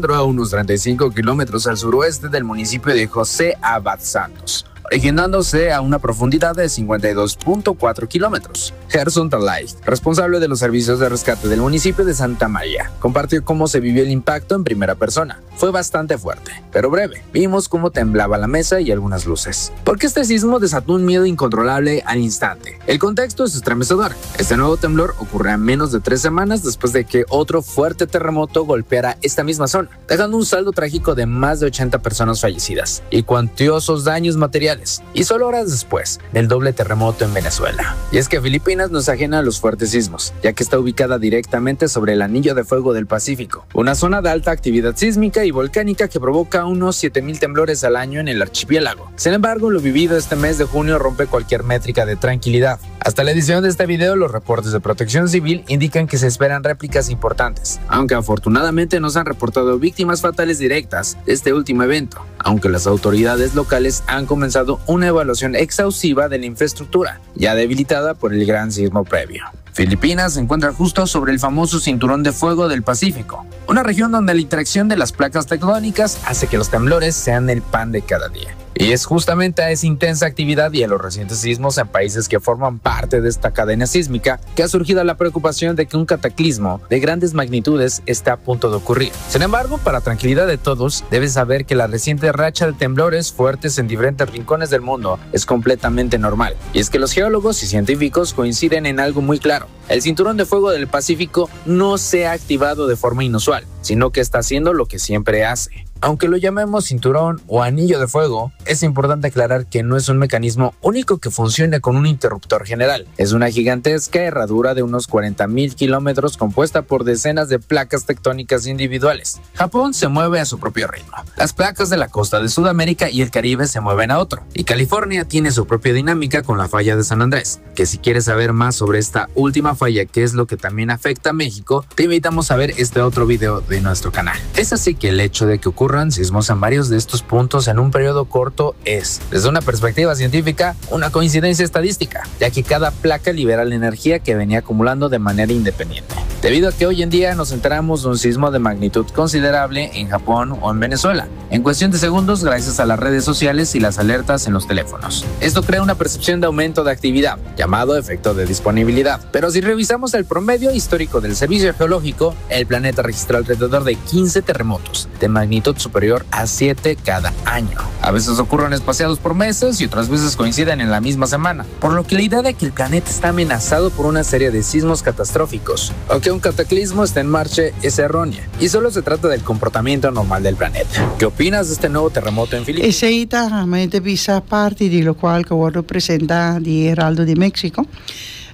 A unos 35 kilómetros al suroeste del municipio de José Abad Santos, originándose a una profundidad de 52.4 kilómetros. Gerson Talay, responsable de los servicios de rescate del municipio de Santa María, compartió cómo se vivió el impacto en primera persona. Fue bastante fuerte, pero breve. Vimos cómo temblaba la mesa y algunas luces. Porque este sismo desató un miedo incontrolable al instante. El contexto es estremecedor. Este nuevo temblor ocurre a menos de tres semanas después de que otro fuerte terremoto golpeara esta misma zona, dejando un saldo trágico de más de 80 personas fallecidas y cuantiosos daños materiales. Y solo horas después del doble terremoto en Venezuela. Y es que Filipinas no es ajena a los fuertes sismos, ya que está ubicada directamente sobre el anillo de fuego del Pacífico, una zona de alta actividad sísmica y volcánica que provoca unos 7.000 temblores al año en el archipiélago. Sin embargo, lo vivido este mes de junio rompe cualquier métrica de tranquilidad. Hasta la edición de este video, los reportes de protección civil indican que se esperan réplicas importantes, aunque afortunadamente no se han reportado víctimas fatales directas de este último evento, aunque las autoridades locales han comenzado una evaluación exhaustiva de la infraestructura, ya debilitada por el gran sismo previo. Filipinas se encuentra justo sobre el famoso cinturón de fuego del Pacífico, una región donde la interacción de las placas tectónicas hace que los temblores sean el pan de cada día. Y es justamente a esa intensa actividad y a los recientes sismos en países que forman parte de esta cadena sísmica que ha surgido la preocupación de que un cataclismo de grandes magnitudes está a punto de ocurrir. Sin embargo, para tranquilidad de todos, debes saber que la reciente racha de temblores fuertes en diferentes rincones del mundo es completamente normal. Y es que los geólogos y científicos coinciden en algo muy claro. El cinturón de fuego del Pacífico no se ha activado de forma inusual, sino que está haciendo lo que siempre hace. Aunque lo llamemos cinturón o anillo de fuego, es importante aclarar que no es un mecanismo único que funcione con un interruptor general. Es una gigantesca herradura de unos 40.000 kilómetros compuesta por decenas de placas tectónicas individuales. Japón se mueve a su propio ritmo. Las placas de la costa de Sudamérica y el Caribe se mueven a otro. Y California tiene su propia dinámica con la falla de San Andrés, que si quieres saber más sobre esta última falla, que es lo que también afecta a México, te invitamos a ver este otro video de nuestro canal. Es así que el hecho de que ocurra sismos en varios de estos puntos en un periodo corto es, desde una perspectiva científica, una coincidencia estadística, ya que cada placa libera la energía que venía acumulando de manera independiente. Debido a que hoy en día nos enteramos de un sismo de magnitud considerable en Japón o en Venezuela, en cuestión de segundos gracias a las redes sociales y las alertas en los teléfonos. Esto crea una percepción de aumento de actividad, llamado efecto de disponibilidad. Pero si revisamos el promedio histórico del servicio geológico, el planeta registró alrededor de 15 terremotos de magnitud superior a 7 cada año. A veces ocurren espaciados por meses y otras veces coinciden en la misma semana, por lo que la idea de que el planeta está amenazado por una serie de sismos catastróficos o que un cataclismo está en marcha es errónea y solo se trata del comportamiento normal del planeta. ¿Qué opinas de este nuevo terremoto en Filipinas? Esey ta mente bisa parti di locual cu a wordo presenta di Heraldo di Mexico,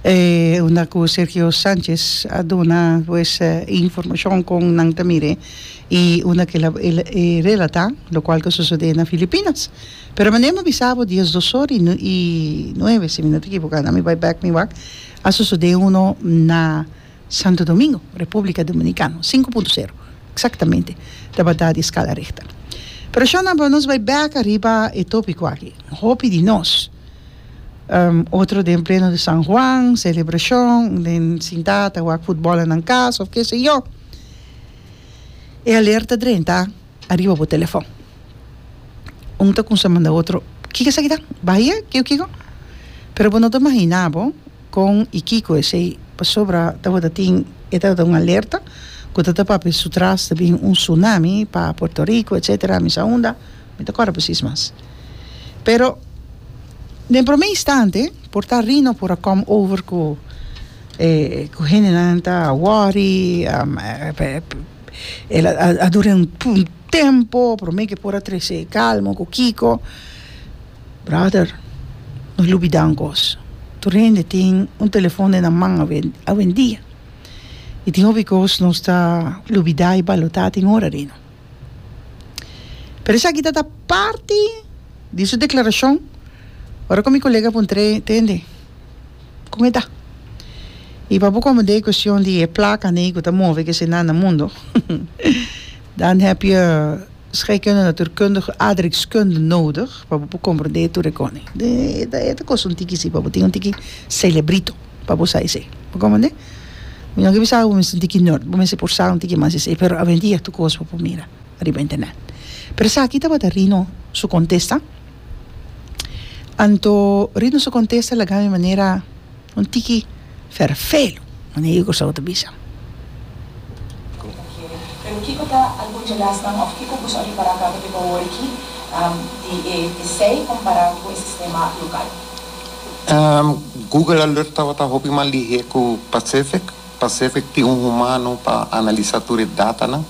unda cu Sergio Sanchez a duna pues informacion con nan ta mire y unda cu el a relata locual cu a sucede na Filipinas. Pero manera mi a bisa bo diesdos or y nueve si mi no ta equivoca, mi bay bek mi wak, a sucede uno na Santo Domingo, Republica Dominicano, sinku punto sero, exactamente, tabata di escala Richter. Pero shona bo nos bai bek ariba e topico aki, hopi di nos, otro den pleno di San Juan, celebracion, den sinta ta wak futbol na nan cas of ke se yo, e alerta drenta ariba bo telefon. Un ta cuminsa manda otro, kiko esaki ta? Bahia? Kiko kiko? Pero bo no ta imagina bo. Kon i kiko esei? Pasobra tabata tin e tabata un alerta ku ta ta papia su tras ta bin un tsunami pa Puerto Rico etcetera mi sa unda mi ta kòrda presis mas. Pero den promé instante por ta Rino por a kòm over ku e ku hendenan ta wòri el a dura un tempo promé ke por a trese e kalmo ku kiko. Brother, no lubida un cos, tur hende tin un telefon den nan man awendia y tin hopi cos nos ta lubida y balota tin ora rino. Pero esaki ta ta parti di su declaracion ora cu mi colega puntr'e, Tende, con e ta? Y pa bo comprende e cuestion di e placa n'ey cu ta move kese nan na mundo, dan heb je. Scheikunde, natuurkundige, aardrijkskunde nodig pa bo por komprendé tur e kosnan. E ta e ta kosta un tiki si pa bo tin un tiki selebrito pa bo sa esei. Bo komprendé? Mi no ke bisa bo mester un tiki nerd, bo mester por sa un tiki mas esei, pero awendia tur kos bo por mira riba internet. Pero esaki tabata Rino su kontesta. Anto Rino su kontesta laga mi manera un tiki ferfelu, manera yu Kòrsou ta bisa. Pero kiko ta algun dje lesnan òf kiko boso a ripará kaba di awor aki di e esei kompará ku e sistema lokal? Google Alert tabata hopi mas lihé ku Pacific. Pacific tin un humano pa analisá tur e datanan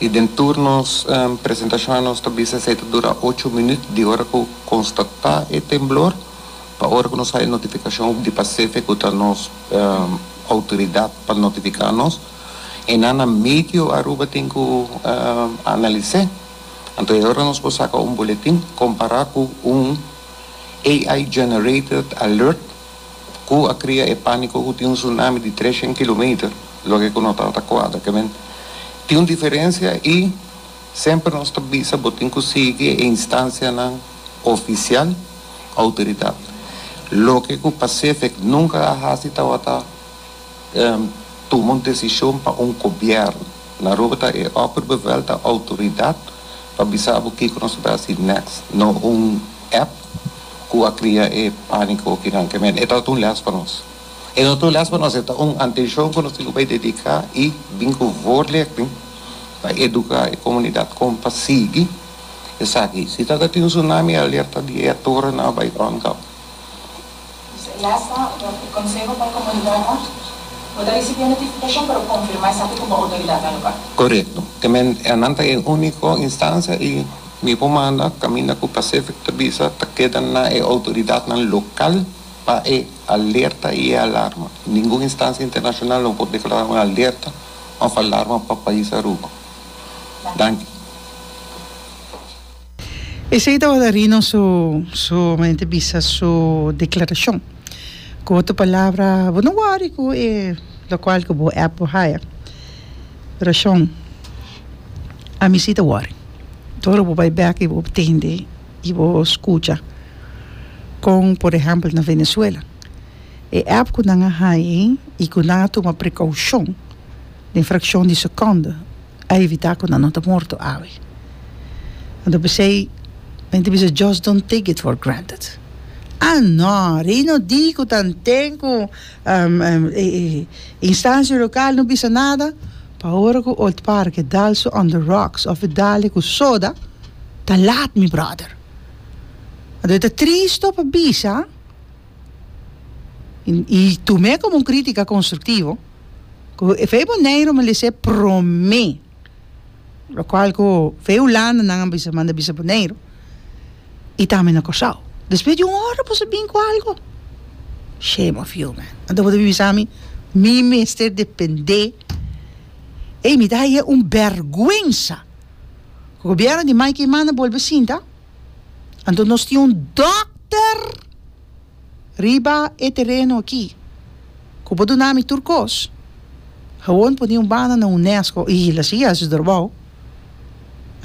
i den tur nos presentashonnan nos ta bisa esei ta dura ocho minüt di ora ku konstatá e temblor pa ora ku nos haña notifikashon di Pacific ku ta nos outoridat pa notifiká nos. Einan na medio Aruba tin ku analis'é. Anto e ora nos por saka un boletin kompará ku un AI generated alert ku a kria e pániko ku tin un tsunami di treshen kilometer, loke ku no tabata kuadra. Ke men tin un diferensia i semper nos ta bisa bo tin ku sigui e instansianan ofisial, outoridat. Loke ku Pacific nunka a hasi tabata tuma un desishon pa un gobièrnu. Na Aruba ta e opperbevel ta outoridat pa bisa bo kiko nos ta bai hasi next, no un app ku a kria e pániko kinan. Ke men e tabata un lès pa nos. E no ta un lès pa nos, e ta un antenshon ku nos tin ku bai dediká i bin ku voorlichting pa eduká e komunidat kon pa sigui esaki. Si tabata tin un tsunami alerta di e torennan a bai on kaba. Dus e lasta, e konseho pa e komunidat ta, Bo ta risibí e notifikashon, pero konfirmá esaki ku bo outoridatnan lokal. Korekto. Te men nan ta e úniko instansia i mi por manda kaminda ku Pacific ta bisa ta keda na e outoridatnan lokal pa e alerta i e alarma. Ningun instansia internashonal no por deklará un alerta òf alarma pa pais Aruba. Danki. Esei tabata Rino su su mente bisa su declaracion. Cu otro palabra bo no worry cu e locual cu bo app bo haya. Pero shon ami si ta worry. Tur ora bo bay bek y bo tende y bo scucha con por ehempel na Venezuela e app cu nan a haya y cu nan a tuma precaucion den fraccion di seconde a evitá ku nan no ta morto awe. Anto p'esei men ta bisa just don't take it for granted. Ah no, Reino di ku tanten ku e instansia lokal no bisa nada, pa ora ku Old Park e dal su on the rocks òf e dal e ku soda, ta lat mi bròder. Anto e ta tristo pa bisa i tum'é komo un krítika konstruktivo. Ku e fe Boneiru mi lese promé, lokual ku fe Hulanda nan a bisa manda bisa Boneiru i tambe na Kòrsou. Despues di un ora boso bin ku algu. Shame of you man. Anto bo ta bin bisa mi, mi mester dependé. Ey mi ta haye un bèrgwensa ku gobièrnu di Mike Eman a bolbe sinta, anto nos tin un dòkter. Riba e tereno aki, ku bo duna mi tur kos, gewon pone un banda na UNESCO i la sigui hasi su trabou,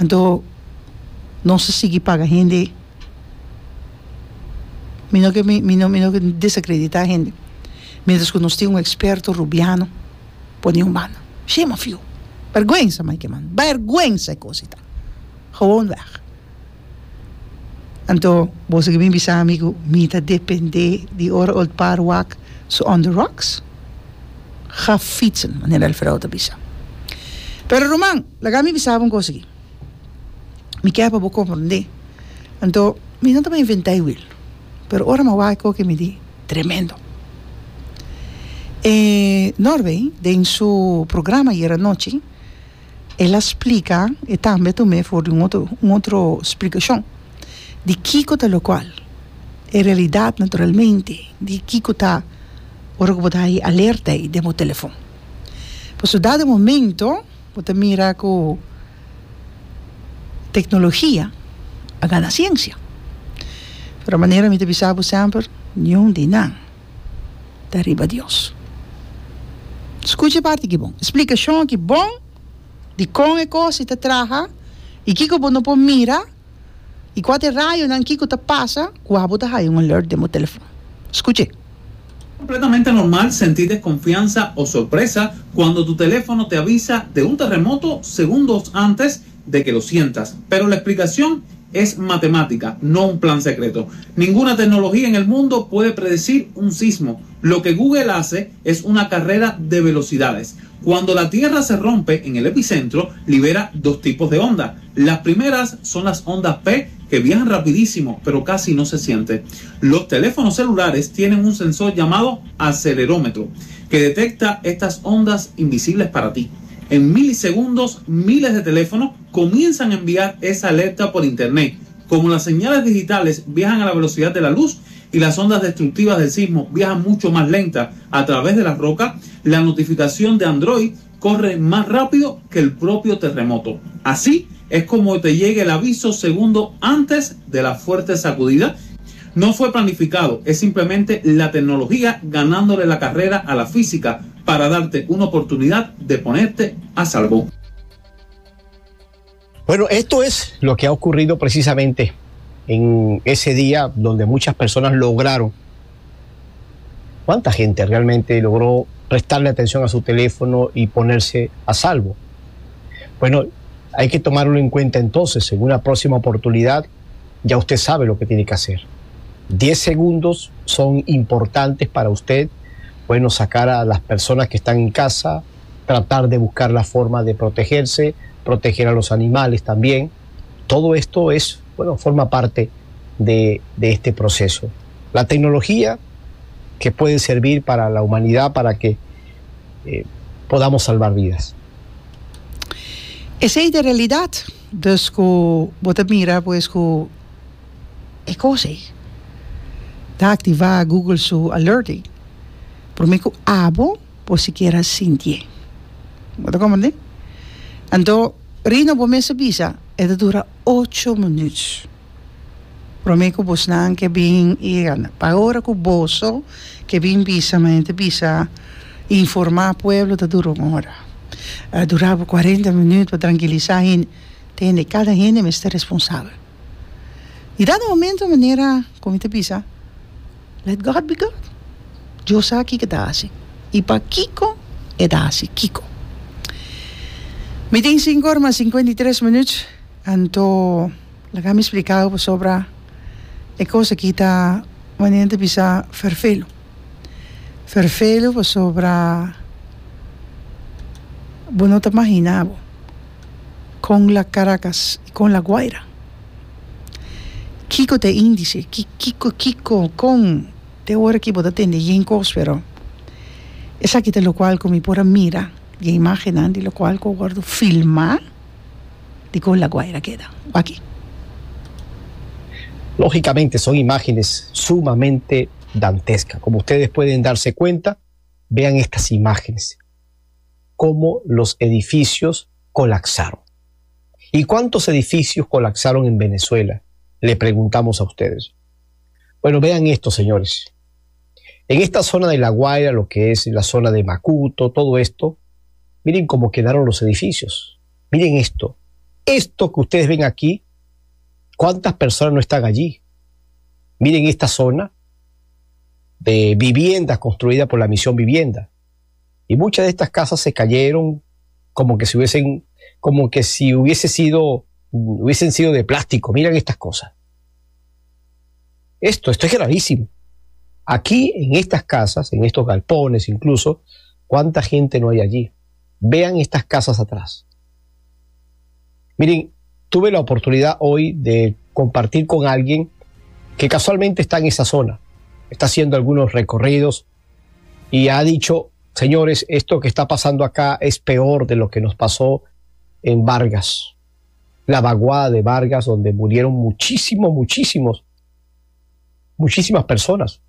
anto nos ta sigui paga hende. Mi no ke mi no mi no ke desakreditá hende, mientras ku nos tin un eksperto rubiano pone un banda. Shame of you! Bèrgwensa, Mike Eman, bèrgwensa e kos ei ta. Gewon wèg. Anto boso ke bin bisa mi ku mi ta depende di ora Old Par wak su on the rocks? Ga fietsen, manera Alfredo ta bisa. Pero ruman, laga mi bisa bo un kos aki. Mi kier pa bo komprendé. Anto, mi no ta bai inventá e wiel, pero ora mi a wak e koki mi di, tremendo. E Norway den su programa ayer anochi, El a splika, e tambe a tum'é for di un otro un otro splikashon di kiko ta lokual e realidat naturalmente di kiko ta ora ku bo ta haña alerta ei den bo telefon. Pasobra dado momento bo ta mira ku teknologia a gana siensia. Pero manera mi ta bisa bo semper niun di nan ta riba Dios. Skucha e parti aki bon. E splikashon aki bon di kon e kos i ta traha i kiko bo no por mira i kua ta e rayonan kiko ta pasa ku abo ta haya un alert den bo telefon. Skuch'é. Completamente normal sentir desconfianza o sorpresa cuando tu teléfono te avisa de un terremoto segundos antes de que lo sientas. Pero la explicación es matemática, no un plan secreto. Ninguna tecnología en el mundo puede predecir un sismo. Lo que Google hace es una carrera de velocidades. Cuando la Tierra se rompe en el epicentro, libera dos tipos de ondas. Las primeras son las ondas P, que viajan rapidísimo, pero casi no se siente. Los teléfonos celulares tienen un sensor llamado acelerómetro, que detecta estas ondas invisibles para ti. En milisegundos, miles de teléfonos comienzan a enviar esa alerta por internet. Como las señales digitales viajan a la velocidad de la luz y las ondas destructivas del sismo viajan mucho más lenta a través de la roca, la notificación de Android corre más rápido que el propio terremoto. Así es como te llega el aviso segundo antes de la fuerte sacudida. No fue planificado, es simplemente la tecnología ganándole la carrera a la física para darte una oportunidad de ponerte a salvo. Bueno, esto es lo que ha ocurrido precisamente en ese día donde muchas personas lograron. ¿Cuánta gente realmente logró prestarle atención a su teléfono y ponerse a salvo? Bueno, hay que tomarlo en cuenta entonces. En una próxima oportunidad ya usted sabe lo que tiene que hacer. 10 segundos son importantes para usted. Bueno, sacar a las personas que están en casa, tratar de buscar la forma de protegerse, proteger a los animales también. Todo esto forma parte de este proceso. La tecnología que puede servir para la humanidad, para que podamos salvar vidas. Esey ta realidad. Dus cu bo ta mira, pues, cu e cos ey ta activa Google su alerting. Prome cu abo por sikiera sintié. Bo ta comprende? Anto, Rino, bo mes a bisa, e ta dura ocho minuut. Prome cu bosnan ke bin i gana. Pa ora cu boso ke bin bisa, ma hende bisa, informa pueblo ta dura un ora. A dura bo cuarenta minuut pa trankilisa hende. Tende, cada hende mester responsabel. I dado momento manera cu mi ta bisa, let God be God. Dios sa kiko ta hasi i pakiko e ta hasi kiko. Mi tin sinku ora mas 53 minuut, anto laga mi splika bo pasobra e kos aki ta manera ta bisa ferfelu. Ferfelu pasobra bo no ta magina bo kon la Caracas i kon La Guaira. Kiko ta e índice? Kiko, kiko, kon? Te ora ki bo ta tende yen kos, pero esaki ta lokual ku mi por a mira di e imágennan di lokual ku a wòrdu filmá di kon La Guaira keda. Wak aki. Lógicamente son imágenes sumamente dantescas. Como ustedes pueden darse cuenta, vean estas imágenes, cómo los edificios colapsaron. ¿Y cuántos edificios colapsaron en Venezuela? Le preguntamos a ustedes. Bueno, vean esto, señores. En esta zona de La Guaira, lo que es la zona de Macuto, todo esto, miren cómo quedaron los edificios. Miren esto. Esto que ustedes ven aquí, ¿cuántas personas no están allí? Miren esta zona de viviendas construida por la Misión Vivienda. Y muchas de estas casas se cayeron como que si hubiesen, como que si hubiese sido, hubiesen sido de plástico. Miren estas cosas. Esto es gravísimo. Aquí, en estas casas, en estos galpones incluso, ¿cuánta gente no hay allí? Vean estas casas atrás. Miren, tuve la oportunidad hoy de compartir con alguien que casualmente está en esa zona. Está haciendo algunos recorridos y ha dicho, señores, esto que está pasando acá es peor de lo que nos pasó en Vargas. La vaguada de Vargas, donde murieron muchísimos, muchísimos, muchísimas personas.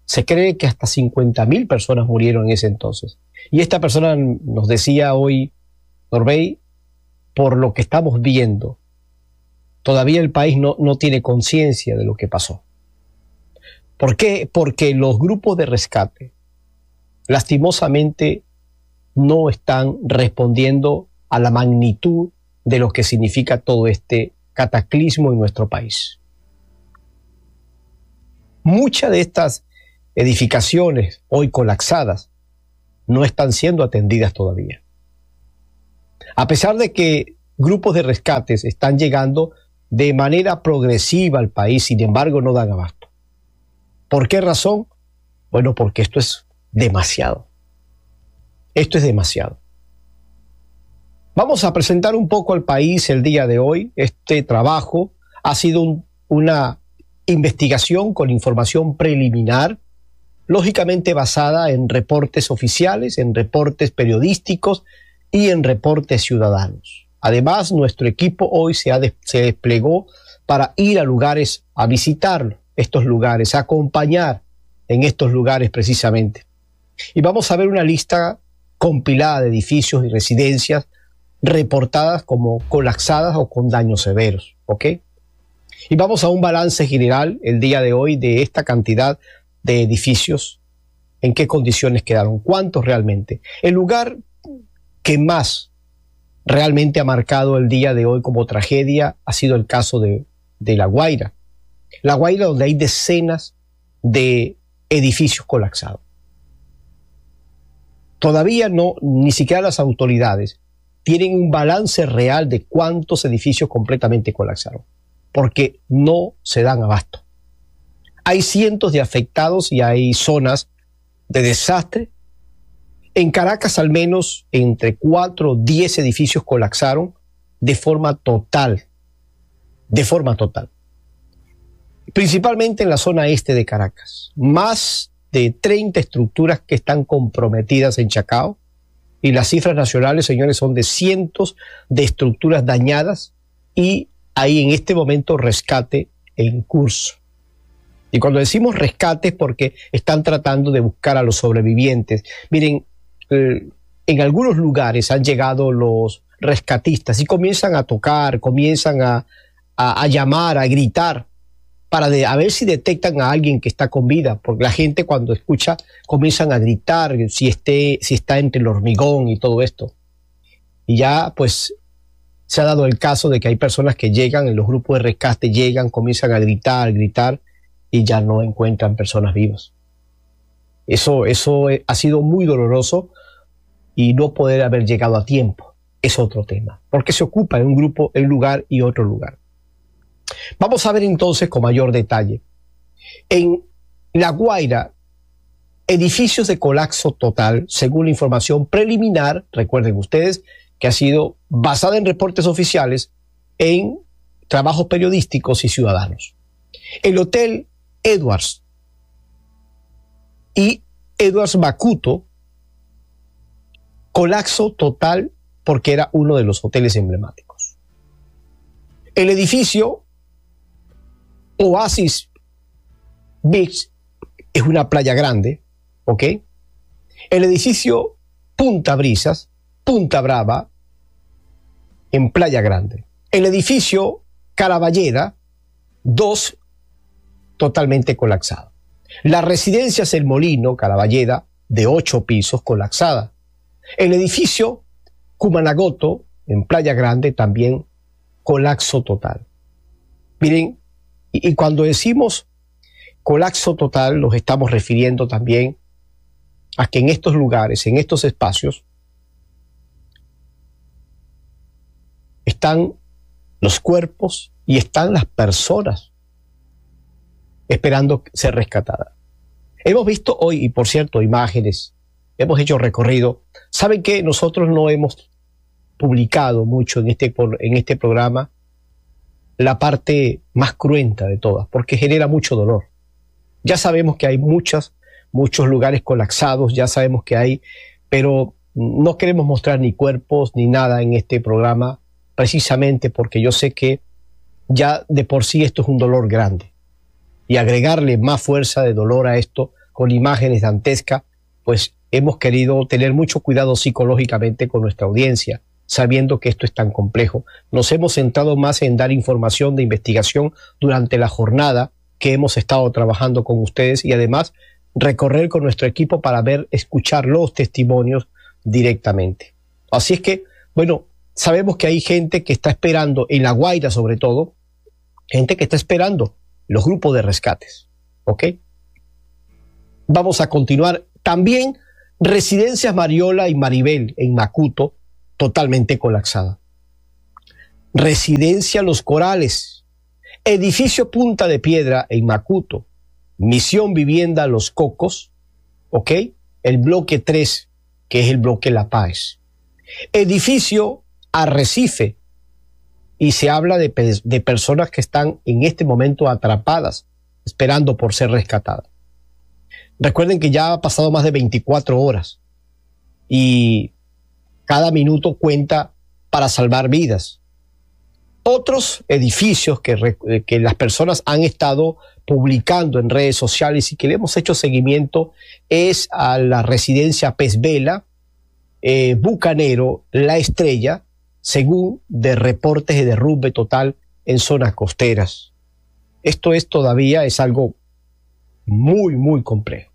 Se cree que hasta 50.000 personas murieron en ese entonces. Y esta persona nos decía hoy, Norbey, por lo que estamos viendo, todavía el país no tiene conciencia de lo que pasó. ¿Por qué? Porque los grupos de rescate, lastimosamente, no están respondiendo a la magnitud de lo que significa todo este cataclismo en nuestro país. Muchas de estas edificaciones hoy colapsadas no están siendo atendidas todavía. A pesar de que grupos de rescates están llegando de manera progresiva al país, sin embargo no dan abasto. ¿Por qué razón? Bueno, porque esto es demasiado. Esto es demasiado. Vamos a presentar un poco al país el día de hoy. Este trabajo ha sido una investigación con información preliminar, lógicamente basada en reportes oficiales, en reportes periodísticos y en reportes ciudadanos. Además, nuestro equipo hoy se, se desplegó para ir a lugares, a visitar estos lugares, a acompañar en estos lugares precisamente. Y vamos a ver una lista compilada de edificios y residencias reportadas como colapsadas o con daños severos, ¿ok? Y vamos a un balance general el día de hoy de esta cantidad de edificios, en qué condiciones quedaron, cuántos realmente. El lugar que más realmente ha marcado el día de hoy como tragedia ha sido el caso de, de La Guaira. La Guaira donde hay decenas de edificios colapsados. Todavía no, ni siquiera las autoridades tienen un balance real de cuántos edificios completamente colapsaron, porque no se dan abasto. Hay cientos de afectados y hay zonas de desastre. En Caracas al menos entre 4 o 10 edificios colapsaron de forma total, de forma total. Principalmente en la zona este de Caracas. Más de 30 estructuras que están comprometidas en Chacao y las cifras nacionales, señores, son de cientos de estructuras dañadas y hay en este momento rescate en curso. Y cuando decimos rescate es porque están tratando de buscar a los sobrevivientes. Miren, eh, en algunos lugares han llegado los rescatistas y comienzan a tocar, comienzan a, a, llamar, a gritar, para de, a ver si detectan a alguien que está con vida, porque la gente cuando escucha comienzan a gritar si, esté, si está entre el hormigón y todo esto. Y ya pues se ha dado el caso de que hay personas que llegan en los grupos de rescate, llegan, comienzan a gritar, gritar y ya no encuentran personas vivas. Eso, eso eh, ha sido muy doloroso y no poder haber llegado a tiempo es otro tema, porque se ocupa en un grupo, en un lugar y otro lugar. Vamos a ver entonces con mayor detalle. En La Guaira, edificios de colapso total, según la información preliminar, recuerden ustedes, que ha sido basada en reportes oficiales, en trabajos periodísticos y ciudadanos. El Hotel Edwards y Edwards Macuto, colapso total porque era uno de los hoteles emblemáticos. El edificio Oasis Beach es una playa grande, ¿ok? El edificio Punta Brisas, Punta Brava, en Playa Grande. El edificio Caraballeda, dos, totalmente colapsado. La residencia El Molino, Caraballeda, de ocho pisos, colapsada. El edificio Cumanagoto, en Playa Grande, también colapso total. Miren, y, cuando decimos colapso total, nos estamos refiriendo también a que en estos lugares, en estos espacios, están los cuerpos y están las personas esperando ser rescatadas. Hemos visto hoy, y por cierto, imágenes, hemos hecho recorrido. ¿Saben que nosotros no hemos publicado mucho en este, en este programa la parte más cruenta de todas, porque genera mucho dolor. Ya sabemos que hay muchas, muchos lugares colapsados, ya sabemos que hay, pero no queremos mostrar ni cuerpos ni nada en este programa, precisamente porque yo sé que ya de por sí esto es un dolor grande. Y agregarle más fuerza de dolor a esto con imágenes dantescas, pues hemos querido tener mucho cuidado psicológicamente con nuestra audiencia sabiendo que esto es tan complejo. Nos hemos centrado más en dar información de investigación durante la jornada que hemos estado trabajando con ustedes y además recorrer con nuestro equipo para ver, escuchar los testimonios directamente. Así es que, bueno, sabemos que hay gente que está esperando, en La Guaira sobre todo, gente que está esperando los grupos de rescates. ¿Ok? Vamos a continuar también Residencias Mariola y Maribel en Macuto, totalmente colapsada. Residencia Los Corales, Edificio Punta de Piedra en Macuto, Misión Vivienda Los Cocos, ¿ok? El bloque 3, que es el bloque La Paz. Edificio Arrecife, y se habla de, de personas que están en este momento atrapadas, esperando por ser rescatadas. Recuerden que ya ha pasado más de 24 horas y cada minuto cuenta para salvar vidas. Otros edificios que, que las personas han estado publicando en redes sociales y que le hemos hecho seguimiento es a la residencia Pez Vela, Bucanero, La Estrella, según de reportes de derrumbe total en zonas costeras. Esto es todavía es algo muy, muy complejo.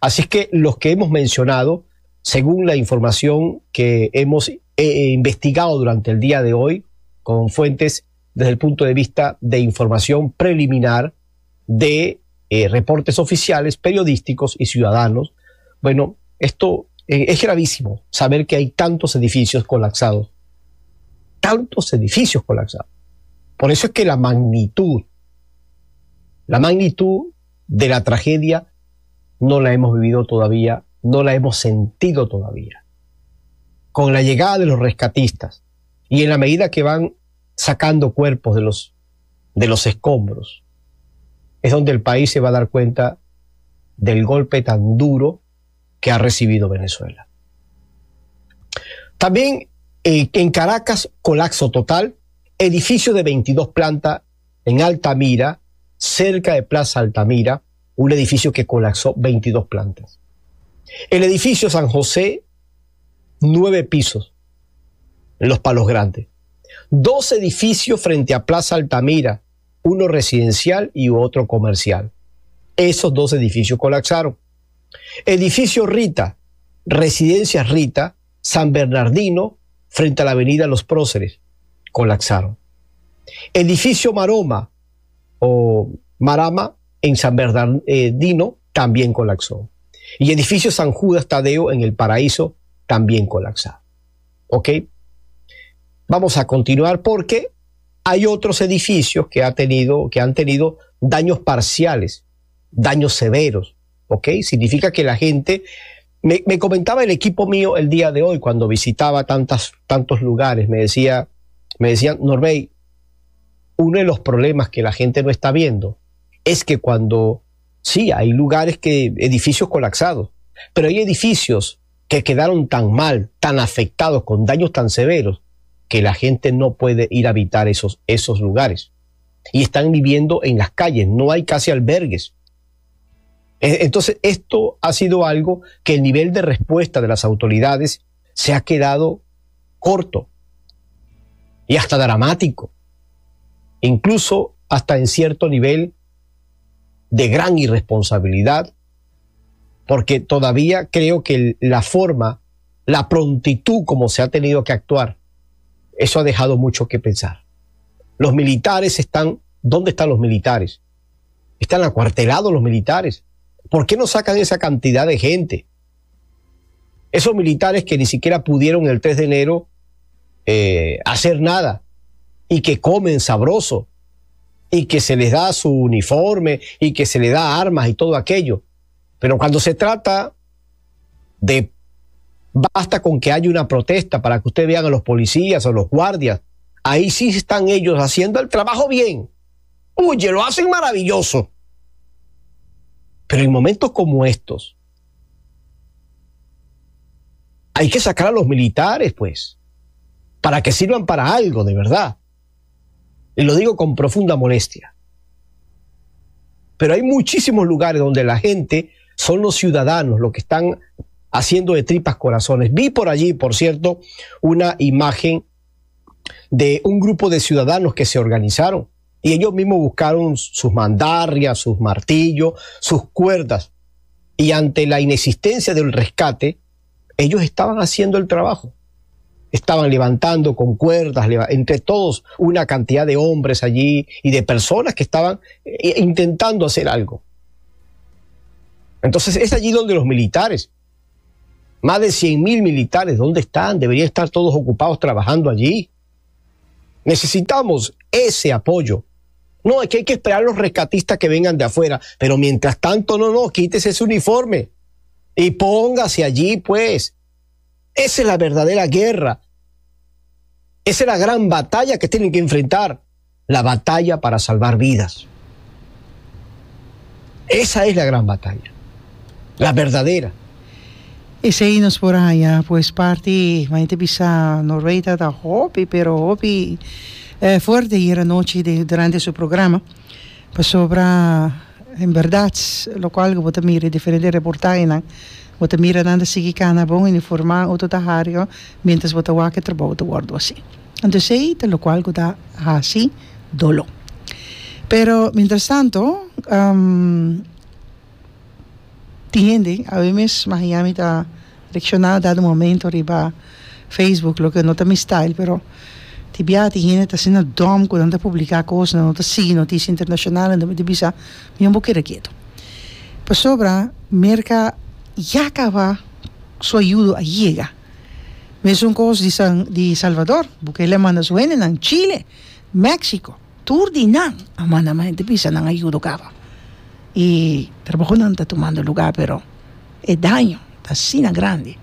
Así es que los que hemos mencionado, según la información que hemos investigado durante el día de hoy, con fuentes desde el punto de vista de información preliminar de reportes oficiales, periodísticos y ciudadanos, bueno, esto es gravísimo, saber que hay tantos edificios colapsados. Tantos edificios colapsados. Por eso es que la magnitud de la tragedia no la hemos vivido todavía, no la hemos sentido todavía. Con la llegada de los rescatistas y en la medida que van sacando cuerpos de los escombros, es donde el país se va a dar cuenta del golpe tan duro que ha recibido Venezuela. También en Caracas, colapso total, edificio de 22 plantas en Altamira, cerca de Plaza Altamira, un edificio que colapsó 22 plantas. El edificio San José, 9 pisos, en Los Palos Grandes. Dos edificios frente a Plaza Altamira, uno residencial y otro comercial. Esos dos edificios colapsaron. Edificio Rita, Residencia Rita, San Bernardino, frente a la avenida Los Próceres, colapsaron. Edificio Maroma o Marama en San Bernardino también colapsó. Y edificio San Judas Tadeo en el Paraíso también colapsado. ¿Ok? Vamos a continuar porque hay otros edificios que han tenido daños parciales, daños severos. ¿Ok? Significa que la gente. Me comentaba el equipo mío el día de hoy cuando visitaba tantos lugares, me decían: "Norbey, uno de los problemas que la gente no está viendo es que cuando, sí, hay lugares que, edificios colapsados, pero hay edificios que quedaron tan mal, tan afectados, con daños tan severos, que la gente no puede ir a habitar esos lugares. Y están viviendo en las calles, no hay casi albergues". Entonces, esto ha sido algo que el nivel de respuesta de las autoridades se ha quedado corto y hasta dramático, incluso hasta en cierto nivel de gran irresponsabilidad, porque todavía creo que la forma, la prontitud como se ha tenido que actuar, eso ha dejado mucho que pensar. Los militares están, ¿dónde están los militares? Están acuartelados los militares. ¿Por qué no sacan esa cantidad de gente? Esos militares que ni siquiera pudieron el 3 de enero hacer nada y que comen sabroso y que se les da su uniforme y que se les da armas y todo aquello. Pero cuando se trata de basta con que haya una protesta para que ustedes vean a los policías o los guardias, ahí sí están ellos haciendo el trabajo bien. Oye, lo hacen maravilloso. Pero en momentos como estos, hay que sacar a los militares, pues, para que sirvan para algo de verdad. Y lo digo con profunda molestia. Pero hay muchísimos lugares donde la gente son los ciudadanos los que están haciendo de tripas corazones. Vi por allí, por cierto, una imagen de un grupo de ciudadanos que se organizaron y ellos mismos buscaron sus mandarrias, sus martillos, sus cuerdas. Y ante la inexistencia del rescate, ellos estaban haciendo el trabajo. Estaban levantando con cuerdas, entre todos, una cantidad de hombres allí y de personas que estaban intentando hacer algo. Entonces es allí donde los militares, más de 100.000 militares, ¿dónde están? Deberían estar todos ocupados trabajando allí. Necesitamos ese apoyo. No, es que hay que esperar a los rescatistas que vengan de afuera, pero mientras tanto, no, no, quítese ese uniforme y póngase allí, pues. Esa es la verdadera guerra. Esa es la gran batalla que tienen que enfrentar, la batalla para salvar vidas. Esa es la gran batalla, la verdadera. Esei nos por haña pues parti mañana ta bisa Norway ta ta hopi pero hopi fuerte ayer anochi durante su programa pasobra en berdad locual cu bo ta mira e diferente reportahenan bo ta mira nan ta sigui cana bon uniforma otro ta hario mientras bo ta wak e trabou ta wordo haci anto esey ta locual cu ta haci dolo pero mientras tanto. Tin hende, awe mes Miami ta reacciona dado momento riba Facebook, loke no ta mi style, pero tin bia tin hende ta asina dom cu nan ta publica cos, nan no ta sigui noticia internacional, anto mi ta bisa mi no por keda keto. Pasobra Merca ya caba su ayudo a yega. Mesun cos di San di Salvador, Bukele a manda su hendenan, Chile, Mexico. Tur di nan a manda ma hende bisa nan ayudo caba y trabajonan ta tumando lugar pero e daño ta asina grandi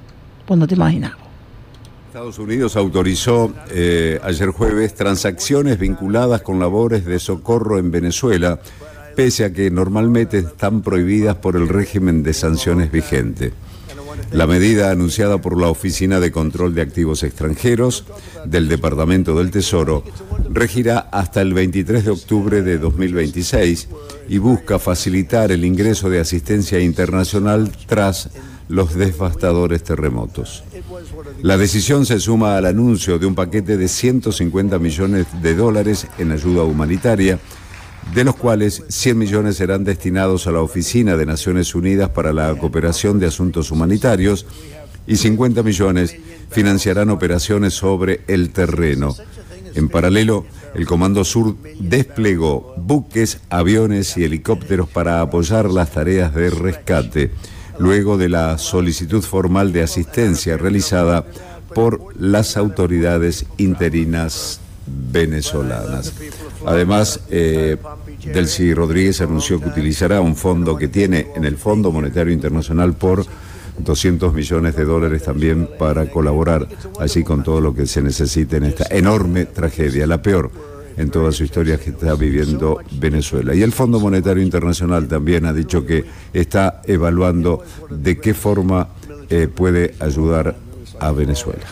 bo no ta imagina bo. Estados Unidos autorizó ayer jueves transacciones vinculadas con labores de socorro en Venezuela, pese a que normalmente están prohibidas por el régimen de sanciones vigente. La medida anunciada por la Oficina de Control de Activos Extranjeros del Departamento del Tesoro regirá hasta el 23 de octubre de 2026 y busca facilitar el ingreso de asistencia internacional tras los devastadores terremotos. La decisión se suma al anuncio de un paquete de 150 millones de dólares en ayuda humanitaria, de los cuales 100 millones serán destinados a la Oficina de Naciones Unidas para la Cooperación de Asuntos Humanitarios y 50 millones financiarán operaciones sobre el terreno. En paralelo, el Comando Sur desplegó buques, aviones y helicópteros para apoyar las tareas de rescate, luego de la solicitud formal de asistencia realizada por las autoridades interinas venezolanas. Además, eh, Delcy Rodríguez anunció que utilizará un fondo que tiene en el Fondo Monetario Internacional por 200 millones de dólares también para colaborar allí con todo lo que se necesite en esta enorme tragedia, la peor en toda su historia que está viviendo Venezuela. Y el Fondo Monetario Internacional también ha dicho que está evaluando de qué forma eh, puede ayudar a Venezuela.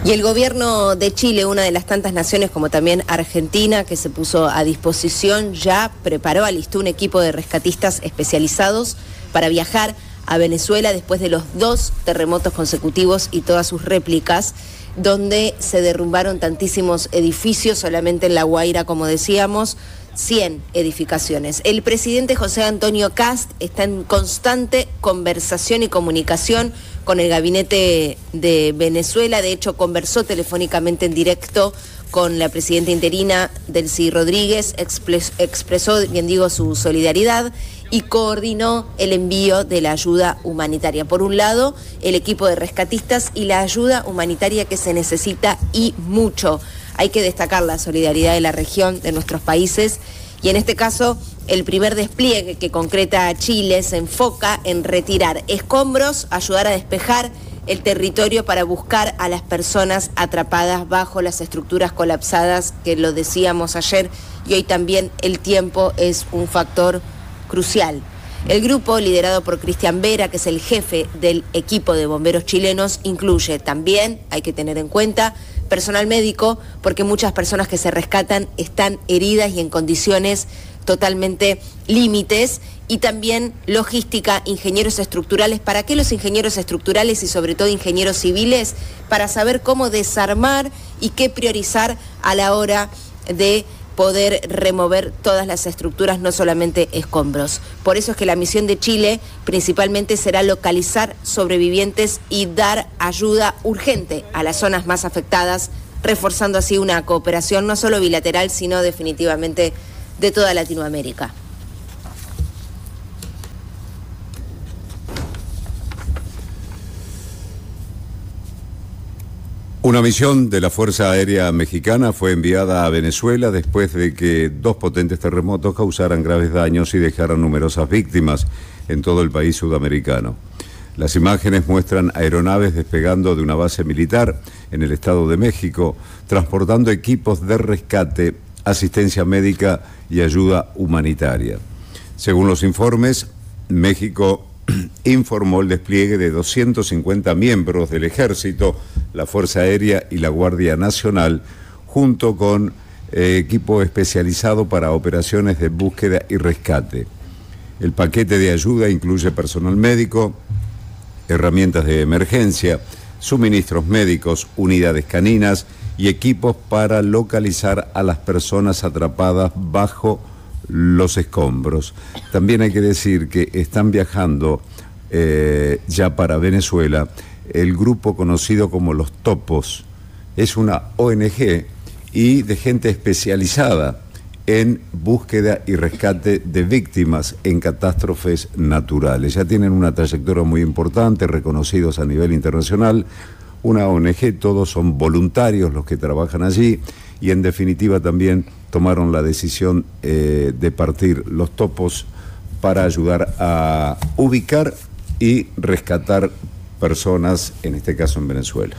Y el gobierno de Chile, una de las tantas naciones como también Argentina, que se puso a disposición, ya preparó, alistó un equipo de rescatistas especializados para viajar a Venezuela después de los dos terremotos consecutivos y todas sus réplicas, donde se derrumbaron tantísimos edificios, solamente en La Guaira, como decíamos, 100 edificaciones. El presidente José Antonio Kast está en constante conversación y comunicación con el gabinete de Venezuela. De hecho, conversó telefónicamente en directo con la presidenta interina Delcy Rodríguez, expresó, bien digo, su solidaridad y coordinó el envío de la ayuda humanitaria. Por un lado, el equipo de rescatistas y la ayuda humanitaria que se necesita y mucho. Hay que destacar la solidaridad de la región, de nuestros países, y en este caso el primer despliegue que concreta Chile se enfoca en retirar escombros, ayudar a despejar el territorio para buscar a las personas atrapadas bajo las estructuras colapsadas, que lo decíamos ayer, y hoy también el tiempo es un factor crucial. El grupo, liderado por Cristian Vera, que es el jefe del equipo de bomberos chilenos, incluye también, hay que tener en cuenta, personal médico, porque muchas personas que se rescatan están heridas y en condiciones totalmente límites, y también logística, ingenieros estructurales. ¿Para qué los ingenieros estructurales y sobre todo ingenieros civiles? Para saber cómo desarmar y qué priorizar a la hora de poder remover todas las estructuras, no solamente escombros. Por eso es que la misión de Chile principalmente será localizar sobrevivientes y dar ayuda urgente a las zonas más afectadas, reforzando así una cooperación no solo bilateral, sino definitivamente de toda Latinoamérica. Una misión de la Fuerza Aérea Mexicana fue enviada a Venezuela después de que dos potentes terremotos causaran graves daños y dejaran numerosas víctimas en todo el país sudamericano. Las imágenes muestran aeronaves despegando de una base militar en el Estado de México, transportando equipos de rescate, asistencia médica y ayuda humanitaria. Según los informes, México informó el despliegue de 250 miembros del Ejército, la Fuerza Aérea y la Guardia Nacional, junto con eh, equipo especializado para operaciones de búsqueda y rescate. El paquete de ayuda incluye personal médico, herramientas de emergencia, suministros médicos, unidades caninas y equipos para localizar a las personas atrapadas bajo los escombros. También hay que decir que están viajando eh, ya para Venezuela el grupo conocido como los Topos. Es una ONG y de gente especializada en búsqueda y rescate de víctimas en catástrofes naturales. Ya tienen una trayectoria muy importante, reconocidos a nivel internacional. Una ONG, todos son voluntarios los que trabajan allí y en definitiva también tomaron la decisión eh, de partir los topos para ayudar a ubicar y rescatar personas, en este caso en Venezuela.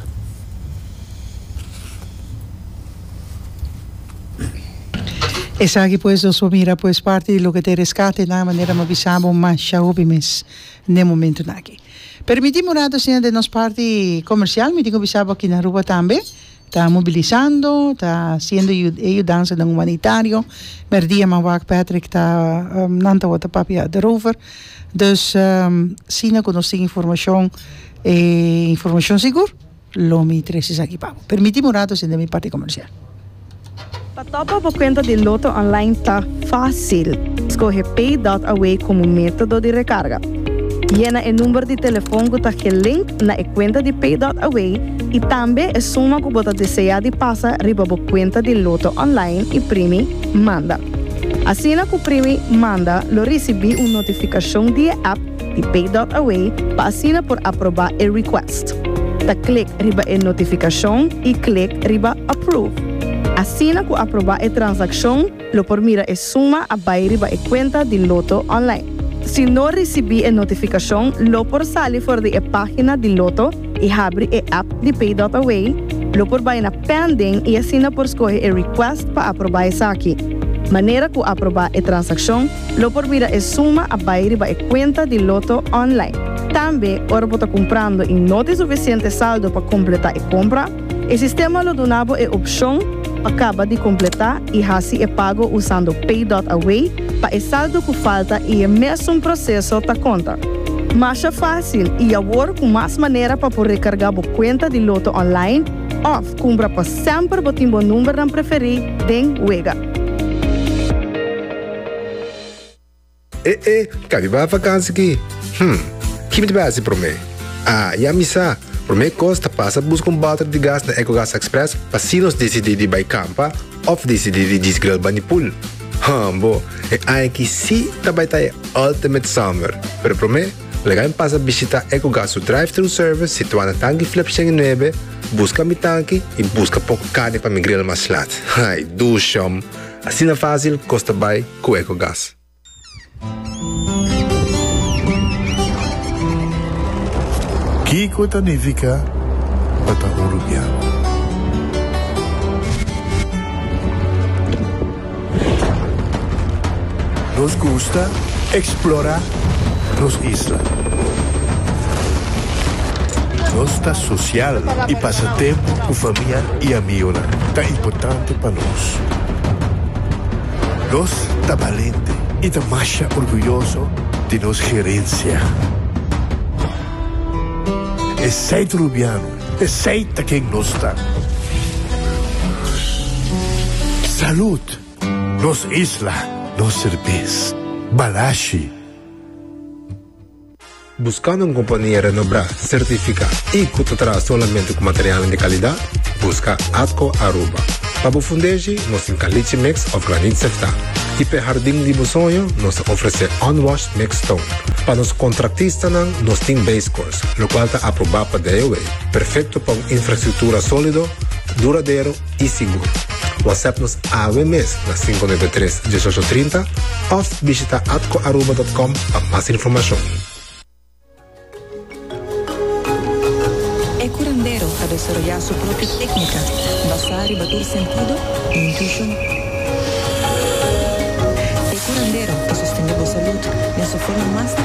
Esaki pues nos por mira pues parti di loke ta e rescate na manera mi a bisa bo masha hopi mes n'e momentonan aki. Permiti mi un rato asina den nos parti comercial mi tin cu bisa bo aki na Aruba tambe ta mobilisando, ta haciendo e yudansanan humanitario. Merdia mi a wak Patrick ta nan tabata papia derover. Dus asina cu nos tin informacion e informacion sigur. Lo mi trece esaki pa bo. Permiti mi un rato sende mi parti comercial. Pa topa bo cuenta di Lotto Online ta facil. Scoge Pay dot Away como metodo di recarga. Yena e number di telefon cu ta gelink na e cuenta di Pay dot Away y tambe e suma cu bo ta desea di pasa riba bo cuenta di Lotto Online y primi Manda. Asina cu primi Manda lo ricibi un notificacion di e app di Pay dot Away pa asina por aprobá e request. Ta klik riba e notifikashon i klik riba Approve. Asina ku aprobá e transakshon lo por mira e suma a bai riba e kuenta di Lotto Online. Si no risibí e notifikashon lo por sali for di e página di Lotto i habri e app di Pay dot Away, lo por bai na Pending i asina por skohe e request pa aprobá esaki. Manera ku aprobá e transakshon, Lo por mira e suma a bai riba e kuenta di Lotto online. Tambe, ora bo ta kumprando i no tin sufisiente saldo pa kompletá e kompra, e sistema lo duna bo e opshon pa kaba di kompletá i hasi e pago usando Pay dot Away pa e saldo ku falta i e mesun proseso ta konta. Masha fásil i awor ku mas manera pa por rekargá bo kuenta di Lotto online òf kumpra pa semper bo tin bo numbernan preferí den wega. E e, ka mi bai vakansi ki? Hm, ki mi ta bai hasi promé? Ah, ya mi sa! Promé kos ta pasa buska un bòter di gas na Ecogas Express pa si nos disidí di bai kampa òf disidí di djis grill bani pool. Hòmbo, e aña aki sí ta bai ta e ultimate summer! Pero promé, laga mi pasa bishitá Ecogas su drive-thru service situá na Tanki Flip 109, buska mi tanki i buska poko karni pa mi grill mas lat. Ai, dushòm! Asina fásil kos ta bai ku Ecogas. Kiko ta nifiká pa ta un rubiano? Nos gusta eksplorá nos isla. Nos ta sosial i pasa tempu ku famia i amigonan ta importante pa nos. Nos ta balente i ta masha orguyoso di nos gerensia. Esei ta Rubiano, esei ta ken nos ta. Salud! Nos isla, nos serbes. Balashi. Buscando un compania renombra, certifica y cu ta traha solamente cu materialnan di calidad? Busca Atco Aruba. Pa bo fundeshi, nos tin caliche mix of granit seftá. Y p'e hardin di bo soño, nos ta ofrece unwashed mixed stone. Pa nos contractistanan, nos tin base course, locual ta aproba pa DOW, perfecto pa un infrastructura solido, duradero y sigur. WhatsApp nos awe mes na 593 1830 of bishita atcoaruba.com pa mas informacion. E curandero ta desaroyá su propio técnica basá riba tur sentido i intuishon. E curandero ta sostené bo salud den su forma mas natural.